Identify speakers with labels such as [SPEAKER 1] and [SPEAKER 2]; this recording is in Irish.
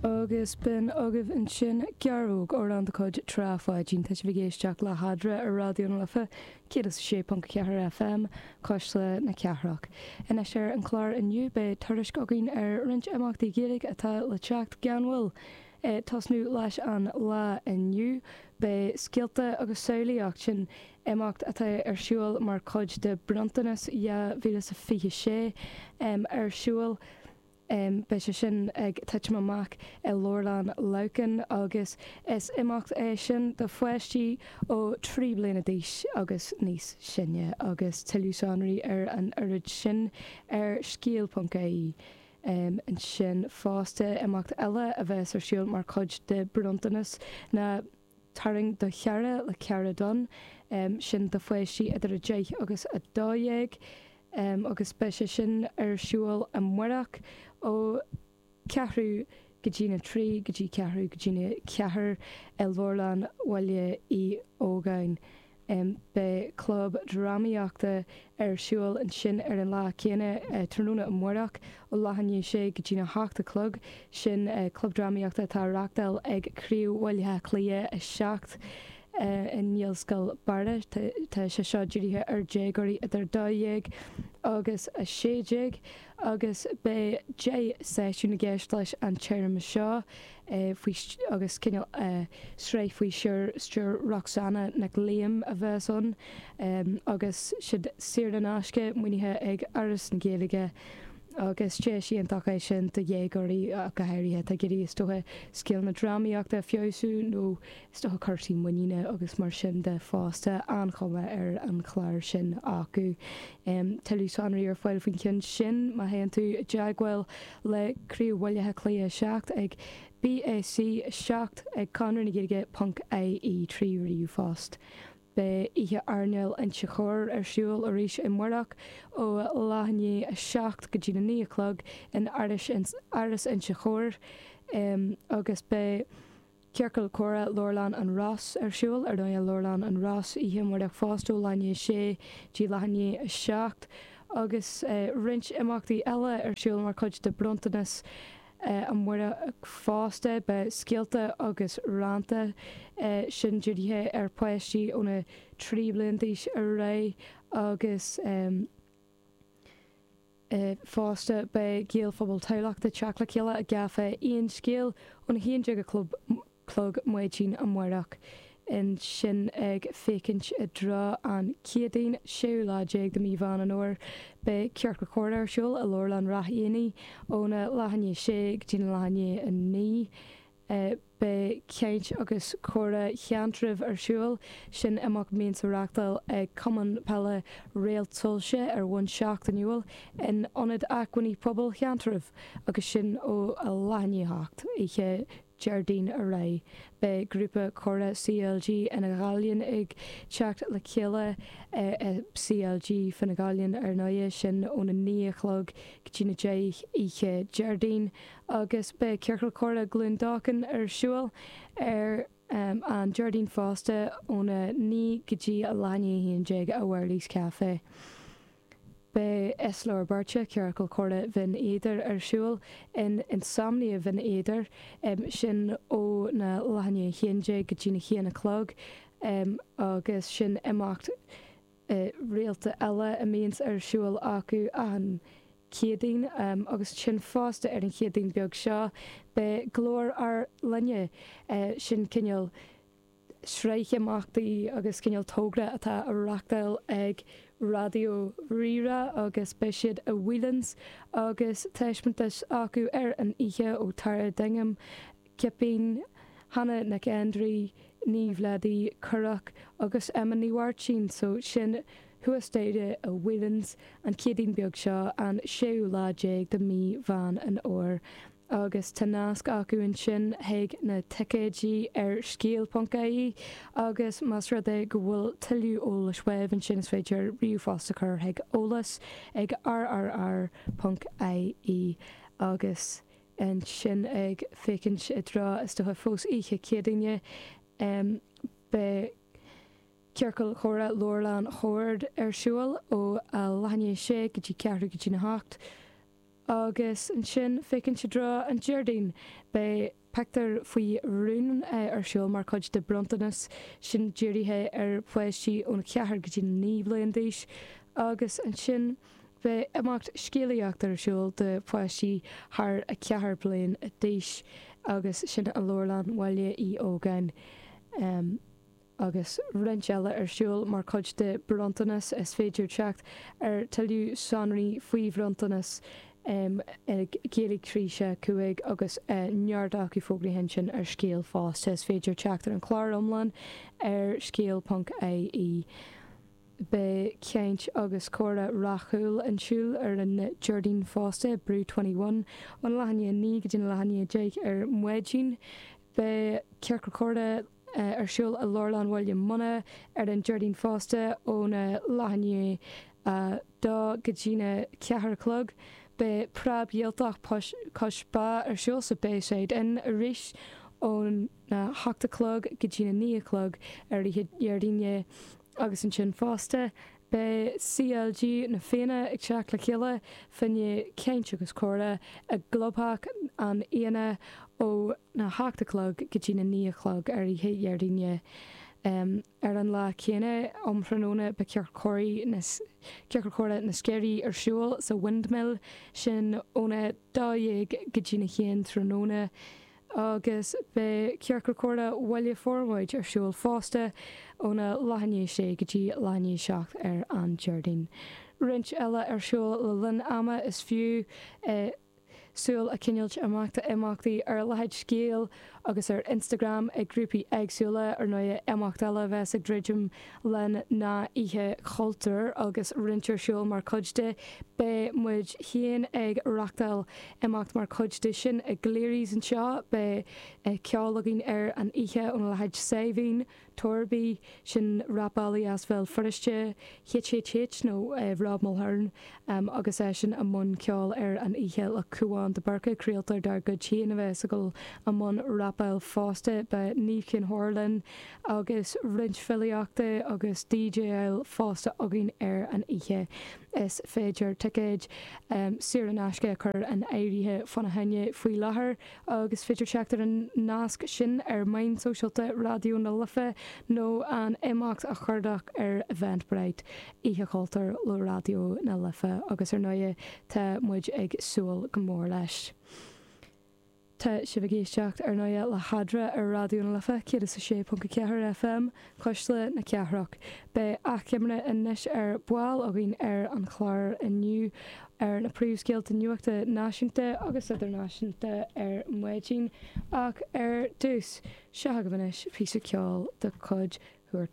[SPEAKER 1] Agus b'in agaibh ansin Gearrthóg, amhrán de chuid Trá Pháidín. Tá sibh ag éisteacht le hEadra ar Raidió na Life 106.4 FM, Cuisle na Cathrach. Anois ar an chlár inniu beidh tuairisc againn ar roinnt imeachtaí Gaeilge atá le teacht gan mhoill. Tosnú leis an lá inniu beidh Scéalta agus Samhlaíocht, sin imeacht atá ar siúl mar chuid de Bronntanas 2026 ar siúl. Beidh sé sin ag titim amach i Leabharlann Leamhcán agus is imeacht é sin do pháistí ó 3 bliana d'aois agus níos sine agus tuilleadh sonraí ar an oiread sin ar scéal.ie. Ansin fosta, imeacht eile a bheas ar siúl mar chuid de Bronntanas ná Tarraing do Chara le Cara Dunne, sin do pháistí idir 10 agus 12 agus beidh sé sin ar siúl amárach ó ceathrú go dtína trí go dtí ceathrú go dtína ceathair i Leabharlann Bhaile Uí Ógáin. Beidh club drámaíochta ar siúl ansin ar an lá céanna, tráthnóna amárach, ó leath i ndiaidh a sé go dtína hocht a chlog. Sin club drámaíochta atá á reachtáil ag Craobh Bhaile Átha Cliath 7 i nGaelscoil Barra. Tá sé seo dírithe ar déagóirí idir 12 agus 16 agus beidh 10 seisiún i gceist leis an téarma seo. faoi agus cineál sraith faoi stiúir Roxanna Nic Liam a bheas ann agus siad saor in aisce, maoinithe ag Fhoras na Gaeilge agus deis iontach é sin do dhéagóirí ach go háirithe atá ag iarraidh is dócha scileanna drámaíochta a feabhsú nó is dócha cúrsaí muiníne agus mar sin de fosta. An-chuma ar an chlár sin acu. Tuilleadh sonraí ar fáil faoin cheann sin má théann tú i dteagmháil le Craobh Bhaile Átha Cliath 7 ag BAC 7 ag conradhnagaeilge ponc IE 3 ríomhphost. Beidh Oíche Airneáil Inse Chór ar siúl arís amárach ó leath i ndiaidh a 7 go dtí na 9 a chlog in Áras Inse Chór agus beidh Ciorcal Comhrá Leabharlann an Ros ar siúl ar ndóigh i Leabharlann an Ros oíche amárach fosta ó leath i ndiaidh a sé dtí leath i ndiaidh a 7 agus roinnt imeachtaí eile ar siúl mar chuid de Bronntanas amárach fosta. Beidh Scéalta agus Rannta, sin dírithe ar pháistí óna 3 bliain d'aois ar aghaidh agus. Fosta, beidh Gaelphobal Thamhlachta ag teacht le chéile i gCaifé Aon Scéal óna 11 a chlog maidin amárach. Ansin ag féachaint i dtreo an Chéadaoin, séú lá déag de mí Mheán an Fhómhair, beidh Ciorcal Comhrá ar siúl i Leabharlann Ráth Éanaigh óna leath i ndiaidh a sé go dtí na leath i ndiaidh a 9. Beidh Caint agus Comhrá Sheantraibh ar siúl, sin imeacht a mbíonns á reachtáil ag Cumann Peile Réalt Soilse ar bhonn seachtainiúil in Ionad Acmhainní Pobail Sheantraibh agus sin ó a leath i ndiaidh a hocht oíche Déardaoin ar aghaidh. Beidh grúpa comhrá CLG Fhine Ghallainn ag teacht le chéile i CLG Fine Ghallainn ar ndóigh, sin óna 9 a chlog go dtí na 10 oíche Déardaoin. Agus beidh Ciorcal Comhrá Glúin Dócháin ar siúl ar an Déardaoin fosta óna 9 go dtí a leath i ndiaidh a 11 i Wherley's Café. Beidh Islóir Beirte, Ciorcal Comhrá Bhinn Éadair ar siúl in Insomnia Bhinn Éadair, sin ó na leath i ndiaidh a 11 go dtí na haon a chlog agus sin imeacht rialta eile a mbíonns ar siúl acu achan Céadaoin agus ansin fosta ar an Chéadaoin beag seo beidh Glór ár Linne, sin cineál sraith imeachtaí agus cineál togra atá á reachtáil ag Raidió Rí-Rá agus beidh siad i Whelan's agus taispeántas acu ar an oíche ó Tara Dignam, Cipín, Hannah Nic Aindrí, Niamh Leddy, Currach agus Emma Ní Mháirtín. So sin thuas staighre i Whelan's an Chéadaoin beag seo, an séú lá déag de mí Mheán an Fhómhair. Agus tá nasc acu ansin chuig na ticéidí ar scéal.ie agus más rud é go bhfuil tuilleadh eolais uaibh ansin is féidir ríomhphost a chur chuig eolas ag rrr.ie agus Ansin ag féachaint i dtreo is dócha fós oíche Céadaoine beidh Ciorcal Chomhrá Leabharlann Shoird ar siúl ó a leath i ndiaidh a sé go dtí ceathrú go dtí na hocht. Agus ansin, féachaint i dtreo an Déardaoin, beidh Pictiúr faoi Rún ar siúl mar chuid de Bronntanas, sin dírithe ar pháistí ón 4 go dtí 9 bliain d'aois. Agus ansin beidh imeacht scéalaíochta ar siúl do pháistí thar 4 bliain d'aois agus sin i Leabharlann Bhaile Uí Ógáin. agus roinnt eile ar siúl mar chuid de Bronntanas. Is féidir teacht ar tuilleadh sonraí faoi Bhronntanas ag Gaeilge 3 6 5 agus neart acu fógraithe ansin ar Scéal fosta. Is féidir teacht ar an chlár iomlán ar scéal ponc ie. Beidh caint agus comhrá rathúil ar siúl ar an Déardaoin fosta, Brew 21, ón leath i ndiaidh 9 go dtí an leath i ndiaidh 10 ar maidin. Beidh ciorcal comhrá ar siúl i Leabharlann Bhaile Munna ar an Déardaoin fosta óna leath i ndiaidh a dó go dtína ceathair a chlog. Beidh Preab Ghaeltacht Cois Bá ar siúl sa Bayside Inn arís óna hocht a chlog go dtína naoi a chlog ar oíche Dhéardaoine agus ansin fosta beidh CLG na Fianna ag teacht le chéile fá choinne caint agus comhrá i gClubtheach an Fhianna ó na hocht a chlog go dtí na naoi a chlog ar oíche Dhéardaoine. Ar an lá céanna, um thráthnóna, beidh Ciorcal Comhrá na Sceirí ar siúl sa Windmill, sin óna 12 go dtí na haon tráthnóna, agus beidh Ciorcal Comhrá Bhaile Formaid ar siúl fosta óna leath i ndiaidh sé go dtí leath i ndiaidh seacht ar an Déardaoin. Roinnt eile ar siúl le linn ama, is fiú. Súil a choinneáilt amach d'imeachtaí ar leithéid Scéal agus ar Instagram ag grúpaí éagsúla. Ar ndóighe, imeacht eile a bheas ag druidim linn ná Oíche Chultúir agus roinnt ar siúl mar chuid de. Beidh muid féin ag reachtáil imeacht mar chuid de sin i gCleary's anseo. Beidh ceol againn ar an oíche óna leithéid Saidhbhín. Torby, sin rapálaí as Bhéal Feirste, HHH nó Rob Mulhern, agus eisean i mbun ceoil ar an oíche le Cúán de Búrca, craoltóir dár gcuid féin a bheas ag dul i mbun rapáil fosta. Beidh Niamh Chinn Óir linn agus roinnt filíochta agus DJáil fosta againn ar an oíche. Is féidir ticéid saor in aisce a chur in áirithe fána choinne faoi láthair. Agus is féidir teacht ar an nasc sin ar mheáin sóisialta Raidió na Life nó an imeacht a chuardach ar Eventbrite, Oíche Chultúir le Raidió na Life agus ar ndóighe tá muid ag súil go mór leis. Tá sibh ag éisteacht ar ndóighe le hEadra ar Raidió na Life 106.4 FM, Cuisle na Cathrach. Beidh achoimre anois ar ball againn ar an chlár inniu ar na príomhscéalta nuachta náisiúnta agus idirnáisiúnta ar maidin ach ar dtús, seo agaibh anois píosa ceoil de chuid.